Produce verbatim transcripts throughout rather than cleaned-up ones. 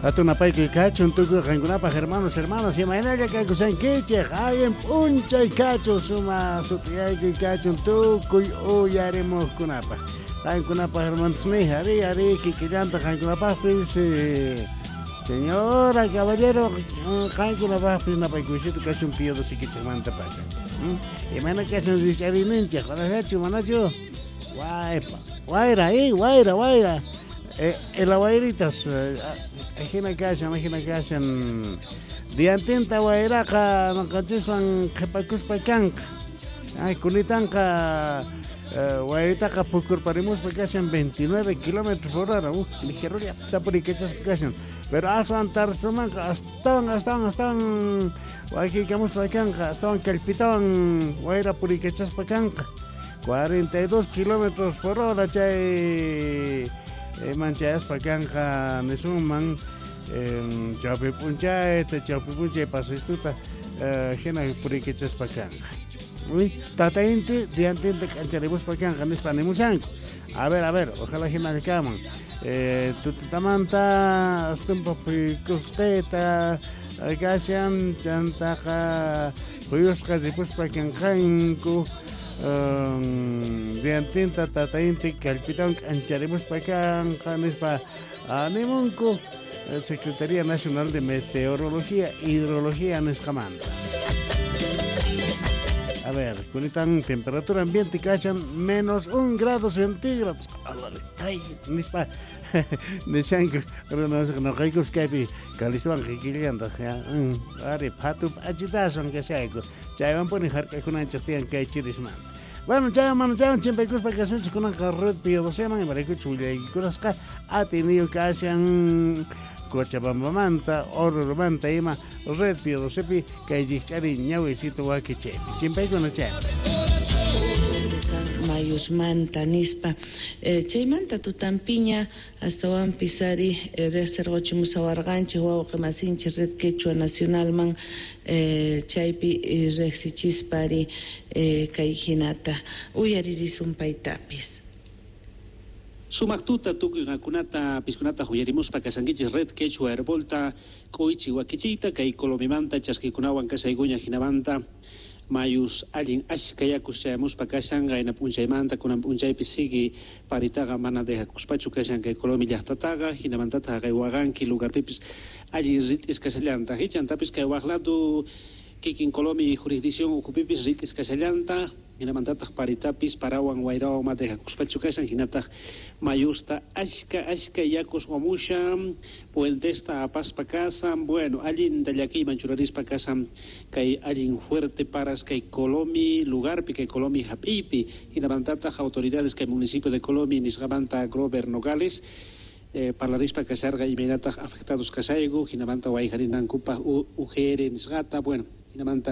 Hatun napaykuy kachun tukuy qankunapaq hermanos, hermanas, imaynalla kakushankichej, allin p'unchay kachun, suma sutiyaykuy kachun tukuy uyarimuqkunapaq. Qankunapaq hermanosmi, ari, ari, kikillanta qankunapaqpis, eh, señora, caballero, qankunapaqpis napaykuysitu kachun Pío sikichejmanta pacha. Imayna kachun rikch'ariyninchej, qarajachu, manachu? Waypa, wayra, eh, wayra, wayra. Eh, el wairitas, ajina kashan, ajina kashan. Diantinta wayraqa noqanchiswan qhipakuspa kanqa. Ay, kunitanqa wayritaqa pukurparimuspa kashan veintinueve kilómetros por hora. Uh, ligerolla tapurikachaspa kashan. Pero aswan tarsumanqa astawan, astawan, astawan wakiykamuspa kanqa, astawan kallpitawan wayra purikachaspa kanqa. cuarenta y dos kilómetros por hora chay manchayaspa kanqa nisunman chawpi p'unchayta, chawpi p'unchay pasistuta hina purikachaspa kanqa. Tata inti diantinta k'ancharimuspa kanqa nispa nimushanku. A ver, a ver, ojalá hina kaman. Eh, tutatamanta astumpa puykusqayta kashan chantaqa puyusqa ripuspa kanqanku. Um, diantinta tata inti kallpitawan k'ancharimuspa kanqa nispa animunku Secretaría Nacional de Meteorología e Hidrología nisqamanta. A ver, kunitan temperatura ambiente kashan menos un grado centígrados. Ay, nispa nishanku noqaykus kaypi kalistuwan kikillantaq ari phatu p'achitasun kashayku chaywanpuni hark'akunanchik tiyan kay chirismanta. Bueno, chaywan mana chaywan chimpaykuspa kasunchik kunanqa Red Pío doceman imaraykuchus willaykikunasqa atiniyu kashan Cochabambamanta, Orurumanta ima Red Pío docepi kay rikch'ari ñawisito wakichaypi. Chimpaykuna chayman. Mayusmanta nispa eh, chaymanta tutampiña astawanpis ari eh, riqsirquchimusawarqanchik wawqi masinchik Red Quechua Nacionalman eh, chaypi eh, riqsichispa ari eh, kay hinata uyaririsun paytapis. Sumaq tuta tukuy qankunata piskunata uyarimuspa kasankichis Red Quechua Herbolta k'uychi wakichiyta kay Colomimanta chaskikunawan kasaykuña hinamanta mayus allin ashka yakus chayamuspa kashan qayna p'unchaymanta kunan p'unchaypi sigui paritaqa mana dejakuspachu kashan kay Colomi llaqtataqa hinamantataq kay Waqanki lugarpipis allin rit'is kashallantaq hichantapis kay waqladu kikin Colomi jurisdicción ukhupipis rit'is kashallantaq hinamantataq paritapis parawan wayrawan ma dejakuspachu kashan hinataq mayusta ashka ashka yakus wamushan puentesta apaspa kasan bueno allinta llakiyman churarispa kasan kay allin fuerte paras kay Colomi lugarpi kay Colomi hap'iypi hinamantataq autoridades kay municipio de Colomi nisqamanta Grover Nogales Eh, parlarispa kasharqa imaynataq afectados kashayku hinamanta wayjarinankupaq U G R nisqata bueno hinamanta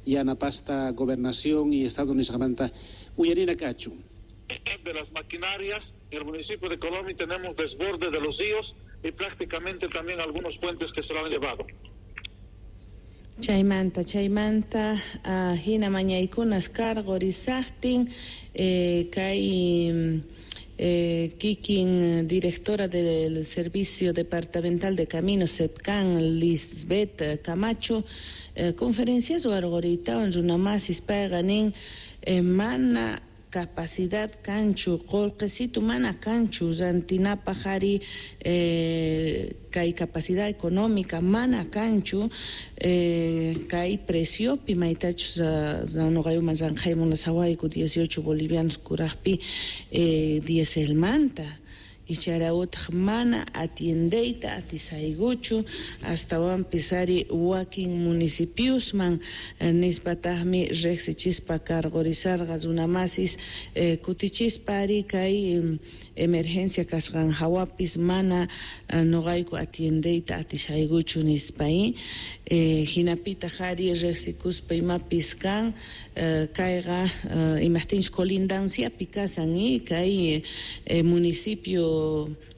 yanapasta gobernación y estado nisqamanta uyarina kachun. De las maquinarias en el municipio de Colomi tenemos desborde de los ríos y prácticamente también algunos puentes que se lo han llevado. Chaymanta, chaymanta, uh, hina mañaykunas karqurisaqtin eh, kay Eh, kikin directora del Servicio Departamental de Caminos SEDCAN, Lisbeth Camacho, eh, conferencia ruwarquritawan runamasis payqa nin eh, mana capacidad kanchu qullqisitu mana kanchu rantinapaq ari eh, kay capacidad económica mana kanchu eh, kay preciopi maytachus nuqayuman ranqaymunasawayku dieciocho bolivianos kuraqpi eh, dieselmanta icharawtaq mana atiendeyta atisaykuchu astawanpis ari wakin municipiosman eh, nispataqmi riqsichispa karqurisarqa runamasis eh, kutichispa ari kay eh, emergencia kasqan hawapis mana eh, nuqayku atiendeyta atisaykuchu nispa eh, hinapitaq ari riqsikuspa imapis kan eh, kayqa eh, imaqtinchik colindanciapi kasan eh, kay eh, municipio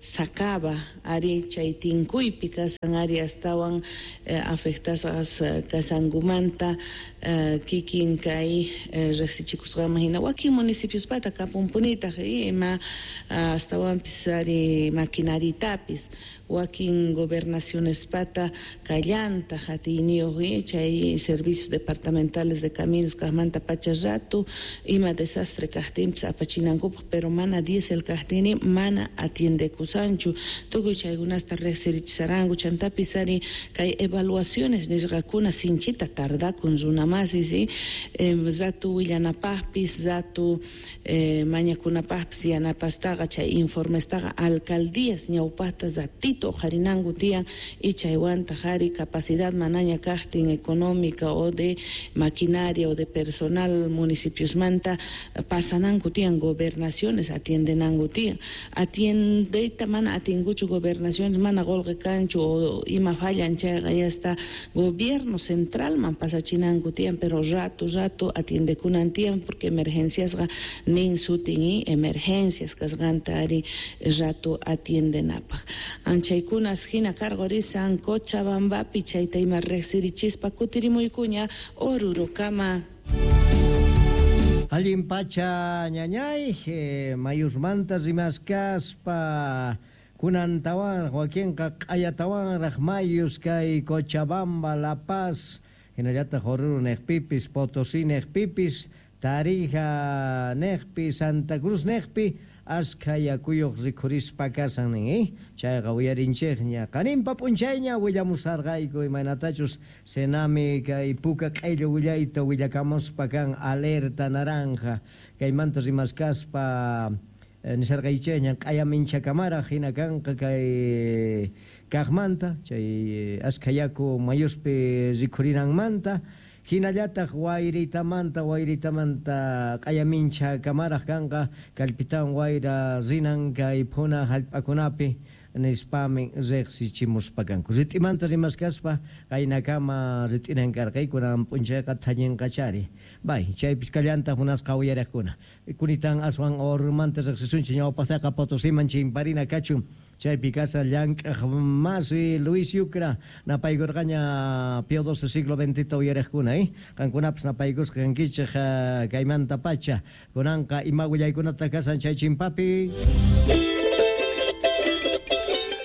Sacaba ari chay tinkuypi kasan ari astawan eh, afectasqas kasankumanta eh, kikin kay eh, riqsichikusqanman hina wakin municipiospata kapunpunitaq ima astawanpis ari maquinaritapis wakin gobernacionespata kallantaq atiyniyuq chay servicios departamentales de caminos kaqmanta pacha rato ima desastre kaqtinpis apachinankupaq pero mana diésel kaqtini mana atiendekusanchu tukuy chaykunasta riqsirichisaranku chantapis ari kay evaluaciones nisqakuna sinchita tardakun runamasis eh, ratu willanapaqpis ratu eh, mañakunapaqpis yanapastaqa chay informestaqa alcaldías ñawpaqta ratito uqharinanku tiyan y chaywantaq ari capacidad manaña kaqtin económica o de maquinaria o de personal municipiosmanta pasananku tiyan gobernaciones atiendenanku tiyan atiendeyta mana atinkuchu gobernaciones mana qolqe kanchu o ima fallan chayqa ya está gobierno centralman pasachinanku tiyan pero rato rato atiendekunan tiyan porque emergenciasqa nin sutin y emergencias kasqanta ari rato atiendenapaq anchaykunas hina karqurisan Cochabambapi chayta ima riqsirichispa kutirimuykuña Orurokama. Allin pacha ñañay, eh, mayusmanta rimaskaspa kunantawan wakinqa q'ayatawanraq mayus kay Cochabamba, La Paz, hinallataq Oruro niqpipis, Potosí niqpipis, Tarija niqpi, Santa Cruz niqpi askha yakuyuq rikhurispa kasan nin, eh? Chayqa uyarinchikña qaninpa p'unchayña willamusarqayku imaynatachus Senami kay puka q'illu willayta willakamuspa kan alerta naranja kaymanta rimaskaspa eh, nisarqaychikña q'ayaminchakamaraq hina kanqa kay kaqmanta chay askha yaku mayuspi rikhurinanmanta hinallataq wayritamanta wayritamanta q'ayamincha kamaraq kanqa kallpitawan wayra rinan kay phuna hallp'akunapi nispami riqsichimuspa kanku rit'imanta rimaskaspa qaynakama rit'inan karqayku kunan p'unchayqa thañinqachari bay chaypis kallantaq munasqa uyariqkuna kunitan aswan Orurumanta riqsisunchik ñawpaqtaqa Potosiman chimparina kachun chaypi kasa llank'aq masi Luis Yucra napaykurqaña Pío doce siglo veintita uyariqkuna eh qankunapas napaykusqa kankichik kaymanta pacha kunanqa ima willaykunata kasan chay chimpapi.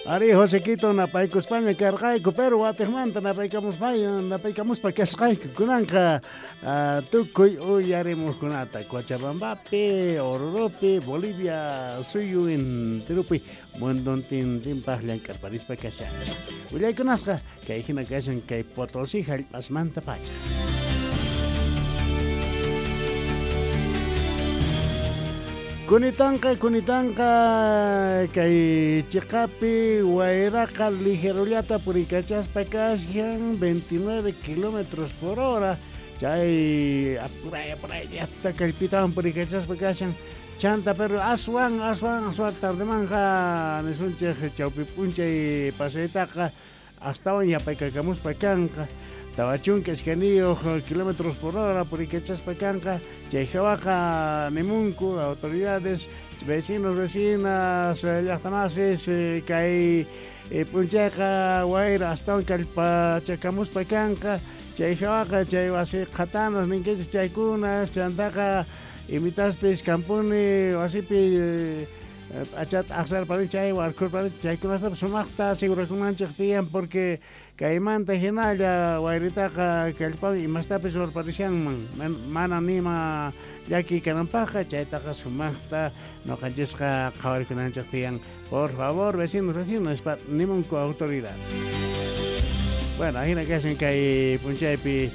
Ari Josequito napaykuspaña karqayku pero watiqmanta napaykamuspa napaykamuspa kasqayku kunanqa uh, tukuy uyarimuqkunata Cochabambapi, Oruropi, Bolivia suyu enteropi mundontintinpaq llank'arparispa kashanchik willaykunasqa kay hina kashan kay Potosí hallp'asmanta pacha. Kunitanqa, kunitanqa, kay chiqapi wayraqa ligerullata purikachaspa kashan veintinueve kilómetros por hora chay apuray apuray llaqta kallpitawan purikachaspa kashan chanta pero aswan aswan aswan tardemanja nisunchik chawpi p'unchay pasaytaqa astawan yapaykakamuspa kanqa tawa chunka iskayniyuq kilómetros por hora purikachaspa kanqa chay hawaqa nimunku autoridades vecinos vecinas llaqtamasis kay p'unchayqa wayra astawan kallpachakamuspa kanqa chay hawaqa chay wasi qhatanas ninkichik chaykunas chantaqa imitaspis kampuni wasipi p'achata aqsarparin chay warkurparin chaykunastapas sumaqta asegurakunanchik tiyan porque kaymanta hinalla wayritaqa kallpawan imastapis warparishanman mana nima llaki kananpaqqa chaytaqa sumaqta ñuqanchisqa qhawarikunanchik tiyan por favor vecinos vecinos nispa nimunku autoridades. Bueno, hina kashan kay p'unchaypi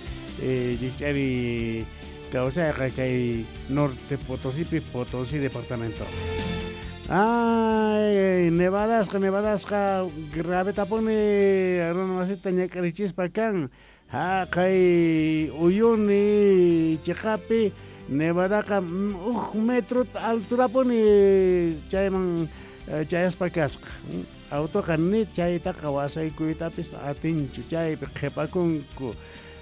rikch'ari kawsayqa kay Norte Potosípi, Potosí departamento. Ay, nevadasqa, nevadasqa gravetapuni runa wasita ñak'arichispa kan haqay Uyuni chiqapi nevadaqa huk metro alturapuni chayman chayaspa kasqa autoqa ni chaytaqa wasaykuytapis atinchu chaypi qhipakunku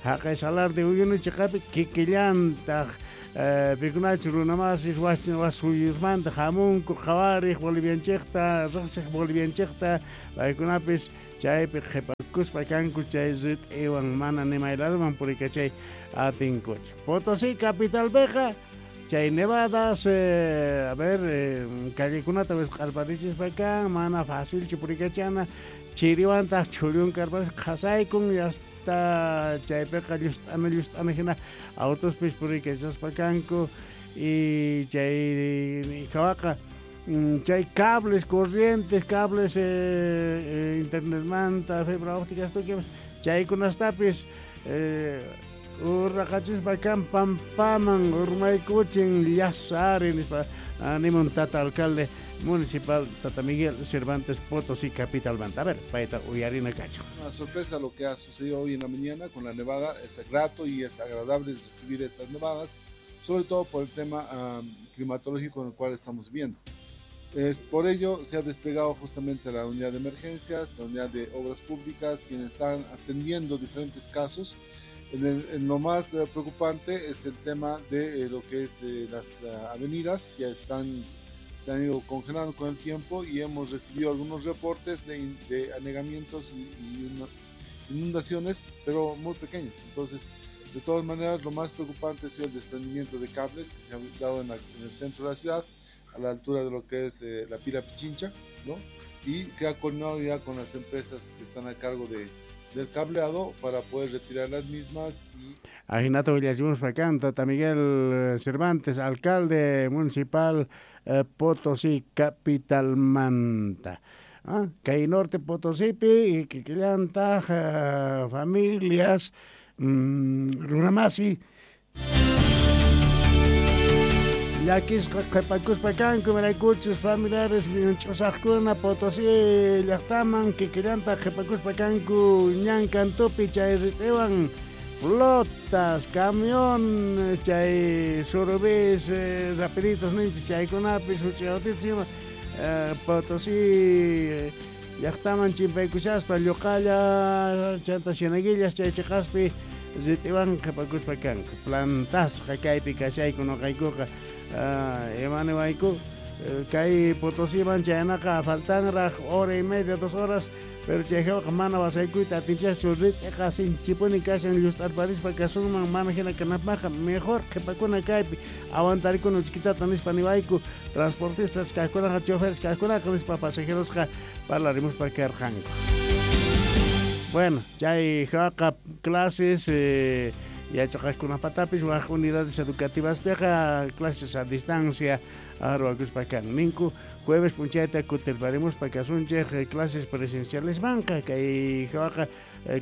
haqay Salar de Uyuni chiqapi kikillantaq Pikunachu runamasis wasin wasuyusmanta hamunku qhawariq Bolivianchikta riqsiq Bolivianchikta paykunapis chaypi qhipakuspa kanku chay rit'iwan mana nimayladuman purikachay atinkuchu. Potosí capitalpiqa chay nevadas eh, a ver eh, callekunata wisq'arparichispa kan mana facilchu purikachana chiriwantaq chhullun karpas qhasaykun hasta chaypiqa llust'ana llust'ana hina autospis purikachaspa kanku y chay hawaqa chay cables corrientes cables eh, eh, internetmanta fibra óptica tukuy chaykunastapis eh, urraqachispa kan pampaman urmaykuchin llasari nispa animun tata alcalde municipal Tata Miguel Cervantes Potosí capitalmanta. A ver, payta uyarina kachu. Una sorpresa lo que ha sucedido hoy en la mañana con la nevada, es grato y es agradable recibir estas nevadas, sobre todo por el tema um, climatológico en el cual estamos viviendo. Es, por ello se ha desplegado justamente la unidad de emergencias, la unidad de obras públicas, quienes están atendiendo diferentes casos. En, el, en lo más eh, preocupante es el tema de eh, lo que es eh, las uh, avenidas que están, se han ido congelando con el tiempo y hemos recibido algunos reportes de, de anegamientos y, y inundaciones, pero muy pequeños. Entonces, de todas maneras, lo más preocupante ha sido el desprendimiento de cables que se ha dado en, la, en el centro de la ciudad, a la altura de lo que es eh, la pila Pichincha, ¿no? Y se ha coordinado ya con las empresas que están a cargo de del cableado para poder retirar las mismas. Y Ajinato willachimuspa kan Tata Miguel Cervantes, alcalde municipal eh, Potosí capitalmanta. Ah, kay norte Potosipi y kikillantaq eh, familias mm, runamasi llakisqa qhipakuspa kanku imaraykuchus familiares ch'usaqkuna Potosí llaqtaman kikillantaq qhipakuspa kanku ñan kantupi chay rit'iwan flotas, camiones, chay surubis, eh, rapiditos ninchis chaykunapis huch'autitos ima eh, Potosí llaqtaman chimpaykushaspa lluqalla chanta Cieneguillas chay chiqaspi rit'iwan qhipakuspa kanku plantasqa kaypi kashayku nuqaykuqa imaniwayku kay Potosíman chaynaqa faltanraq hora y media, dos horas, pero chayqa mana wasaykuyta atinchaschu rit'iqa sinchipuni kashan llust'arparispa kasunman mana hina kanapaqqa mejor qhipakuna kaypi aguantarikuna uchkitata nispa niwayku transportistas kaqkunaqa choferes kaqkunaqa nispa pasajerosqa parlarimuspa karqanku. Bueno, chay hawaqa clases eh, yachaqaqkunapatapis waq unidades educativas piqa clases a distancia arwakuspa kan ninku jueves p'unchayta kutirparimuspa kasunchik clases presenciales manqa kay hawaqa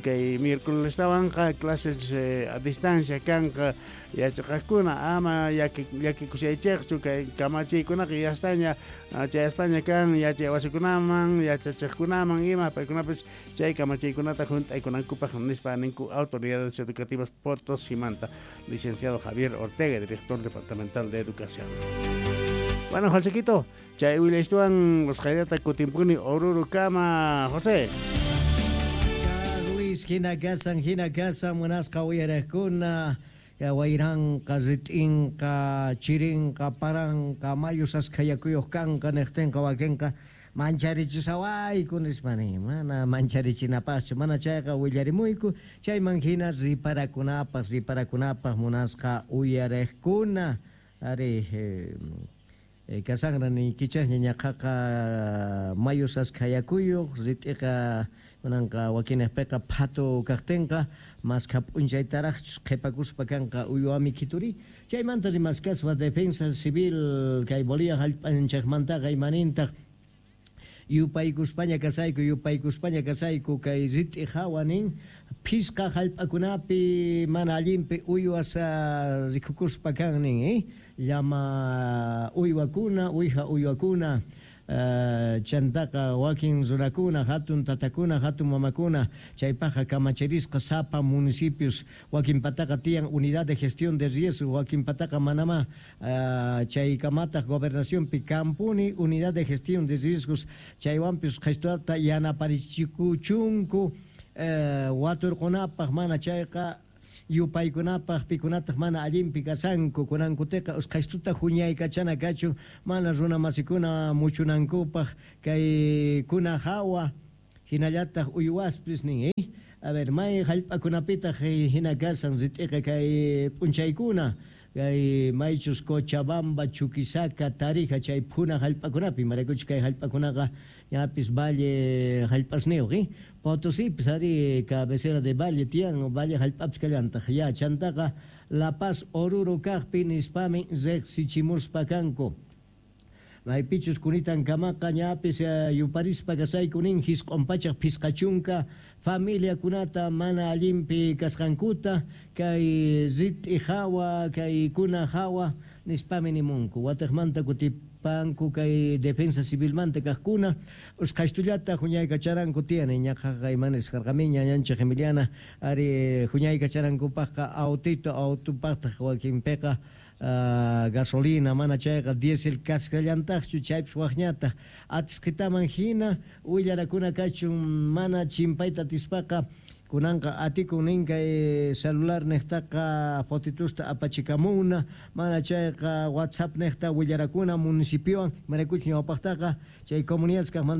kay miércolestawanqa clases eh, a distancia kanqa yachaqaqkuna ama llakikushaychikchu kay kamachiykunaqa yastaña chayaspaña kan yachay wasikunaman yachachiqkunaman ima paykunapis chay kamachiykunata hunt'aykunankupaq nispa ninku autoridades educativas Potosimanta. Licenciado Javier Ortega, director departamental de Educación. Bueno, Josequito, chay willaystuwan usqhaylata kutimpuni Orurukama, José. Luis, hina kasan, hina kasan, munasqa uyariqkuna, wayranqa, rit'inqa, chirinqa, paranqa, mayus askhayakuyuq kanqa, niqtinqa wakinqa mancharichisawayku nispa nin, mana mancharichinapaqchu, mana chayqa willarimuyku, chayman hina riparakunapaq, riparakunapaq munasqa uyariqkuna, ari eh, kasanra niykichaqña ñaqaqa mayus askhayakuyuq, rit'iqa kunanqa wakinaqpiqa phatu kaqtinqa maskha p'unchaytaraqchus qhipakuspa kanqa uywami kituri chaymanta rimaskaspa defensa civil kay Bolivia hallp'anchikmantaqa imanintaq yupaykuspaña kasayku yupaykuspaña kasayku kay rit'i hawa nin phisqa hallp'akunapi mana allinpi uywas rikukuspa kan nin eh? Llama uywakuna uwija uywakuna Uh, chantaqa wakin runakuna hatun tatakuna hatun mamakuna chaypaqqa kamachirisqa sapa municipios wakin pataqa tiyan unidad de gestión de riesgo wakin pataqa manama uh, chaykamataq gobernacionpi kampuni unidad de gestión de riesgos chaywanpis qhistata yanaparichikuchunku uh, waturqunapaq mana chayqa Yupaykunapaj pikunataq mana allinpi kashanku kunankutiqa usqhaystuta huñaykachana kachun mana runa masikuna muchunankupaj kay kuna hawa hinallataq uywaspis nin eh? A ver, may hallp'akunapitaq hina kashan rit'iqa kay p'unchaykuna kay maychus Cochabamba, Chuquisaca, Tarija chay phuna hallp'akunapi maraykuchus kay hallp'akunaqa ñapis valle hallp'asniyuq eh? Potosipis ari cabecera de valle tiyan valle hallp'apis kallantaq ya chantaqa La Paz Oruro kaqpi nispami riqsichimuspa kanku. Maypichus kunitan kamaqa ñapis yuparispa kasayku nin hisq'un pachaq phisqachunka familiakunata mana allinpi kasqankuta kay rit'i hawa kay kuna hawa nispami nimunku wataqmanta kutipanku kay defensa civilmanta kaqkuna usqhaystullata huñaykacharanku tiyan ñaqaqa imanis karqamiña ñanchik Emiliana ari huñaykacharankupaqqa autito autopaqtaq wakinpiqa Uh, gasolina mana chayqa diésel kasqallantaqchu chaypis waqñataq atisqitaman hina willarakuna kachun mana chimpayta atispaqa kunanqa atikun nin kay celular niqtaqa fotitusta apachikamuna mana chayqa WhatsApp niqta willarakuna municipiowan maraykuchu ñawpaqtaqa chay comunidades kaqmanta.